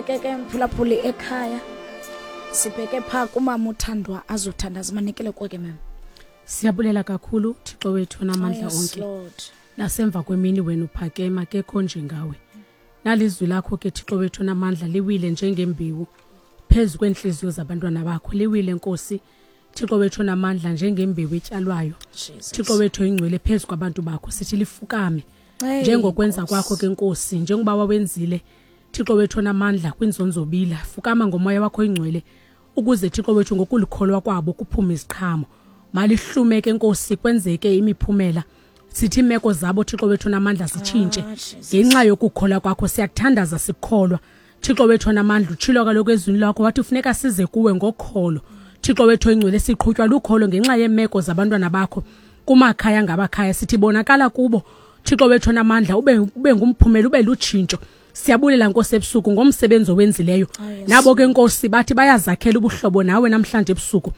Ke ke mphulaphuli ekhaya, sibheke phaa kumama uthandwa azothandaza. Manikele kuwe ke, mem. Siyabulela kakhulu, Thixo wethu onamandla Oh, yes, onke. Lord. Nasemva kwemini wena uphakema, kekho njengawe. Nalizwi lakho ke, Thixo wethu onamandla, liwile njengembewu phezu kweentliziyo zabantwana bakho. Liwile, Nkosi, Thixo wethu onamandla, njengembewu etyalwayo. Jesus. Thixo wethu oyingcwele, phezu kwabantu bakho sithi lifukame. Hey, Njengokwenza Nkosi. kwakho ke, Nkosi, njengoba wawenzile, Thixo wethu onamandla, kwinzonzobila, fukama ngomoya wakho oyingcwele ukuze, Thixo wethu, ngokulikholwa kwabo kuphume iziqhamo. Malihlume ke, Nkosi, kwenzeke imiphumela. Sithi iimeko zabo, Thixo wethu onamandla, zitshintshe Ah, Jesus. ngenxa yokukholwa kwakho. Siyakuthandaza sikukholwa, Thixo wethu onamandla. Utshilo kaloku ezwini lakho, wathi funeka size kuwe ngokholo, Thixo wethu oyingcwele. Siqhutywa lukholo ngenxa yeemeko zabantwana bakho kumakhaya ngabakhaya. Sithi bonakala kubo, Thixo wethu onamandla, ube ngumphumela, ube lutshintsho. Siyabulela, Nkosi, ebusuku ngomsebenzi owenzileyo. Ah, yes. Nabo ke, Nkosi, bathi bayazakhela ubuhlobo nawe namhlanje ebusuku.